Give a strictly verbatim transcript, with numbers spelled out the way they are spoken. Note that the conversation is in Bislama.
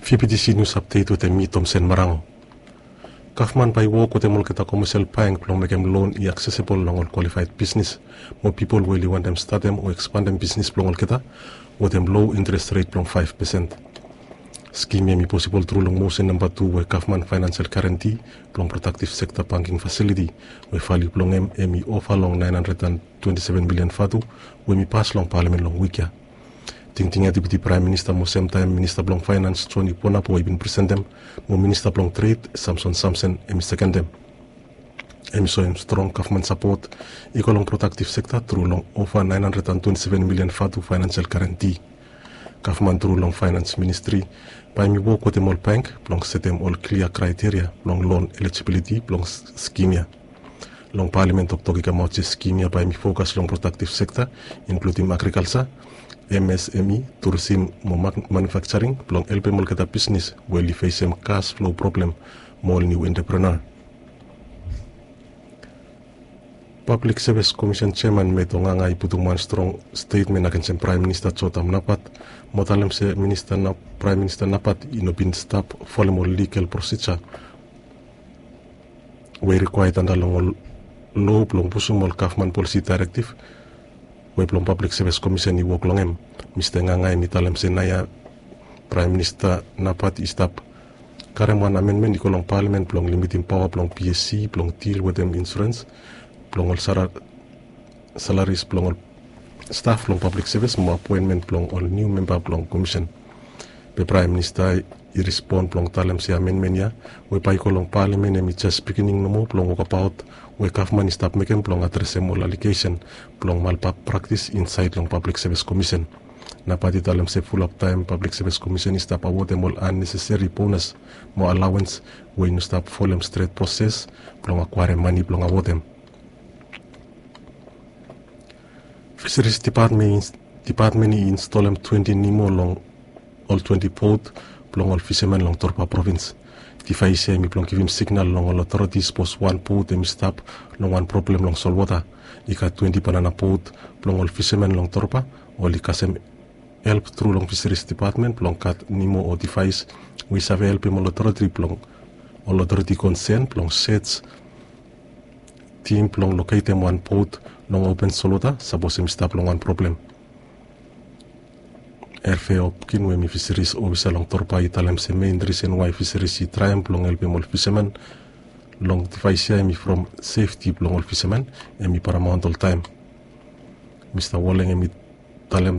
Fibitisi nius apdet wetem mi, Tomsen Marango. Gavman bae i wok wetem olgeta komesel bank blong mekem lon i aksesebol long ol kwalifaed bisnis mo pipol we oli wantem statem o ekspandem bisnis blong olgeta wetem low interes ret blong faef pesen. Skim ya hem i posibol tru long mosen namba tu we gavman faenansel garanti blong prodaktiv sekta banking fasiliti we valiu blong hem hem i ova long naen handred an twenti seven milian vatu we hem i pas long palamen long wik ya. Tingting ya Deputi Praem Minista mo semtaem Minista blong Faenans Joni Ponabo i bin presentem mo Minista blong Tred Samson Samsen hem i sekendem. Hem i soem strong gavman sapot i go long prodaktiv sekta tru long ova naen handred an twenti seven milian vatu faenansel garanti. Gavman tru long faenans ministri bae hem i wok wetem ol bank blong setem ol klia kraeteria blong lon elijibiliti blong skim ya. Long palamen toktok i kamaot se skim ya bae hem i fokas long prodaktiv sekta, inkludim agrikalsa, msme, turisim mo manufakjaring blong helpem olgeta bisnis we oli fesem kas flo problem mo ol niu entreprenua. Pablik Sevis Komisen jeaman Meto Nganga i putum wan strong stetmen agensem Praem Minista Jotam Napat mo talem se Praem Minista Napat i no bin stap folem ol ligal prosija we i rikwaed anda long ol loa blong pusum ol gavman polisi daerektiv we blong Pablik Sevis Komisen i wok long hem. Mista Nganga hem i talem se naoia Praem Minista Napat i stap karem wan amenmen i go long palamen blong limitim paoa blong PSC blong dil wetem insurens blong ol salaris blong ol staf blong Pablik Sevis mo apoenmen blong ol niu memba blong komisen. Be Praem Minista i respon blong talem se amenmen ya we bae i go long palamen hem i jes bigining nomo blong wokabaot we gavman i stap mekem blong adresem ol alegesen blong malpraktis insaed long Pablik Sevis Komisen. Napat i talem se fulap taem Pablik Sevis Komisen i stap awodem ol anneseseri bonas mo alawens we i no stap folem stret proses blong akwaerem mane blong awodem. Fiseris Dipatmen i instolem twenti nimo long ol twenti bot blong ol fiseman long Torba provins. Divaes ya hem i blong givim signal long ol otoriti sapos wan bot hem i stap long wan problem long solwota. I gat twenti banana bot blong ol fiseman long Torba oli kasem help tru long Fiseris Dipatmen blong gat nimo o divaes we i save helpem ol otoriti blong ol otoriti konsen blong sej tim blong loketem wan bot long open solwota sapos hem i stap long wan problem. Erfe Opkin we hem i fiseris ofisa long Torba i talem se mein risen wae fiseris i traem blong helpem ol fiseman long divaes ya hem i from sefti blong ol fiseman hem i paramaont oltaem. Mista Woleng hem i talem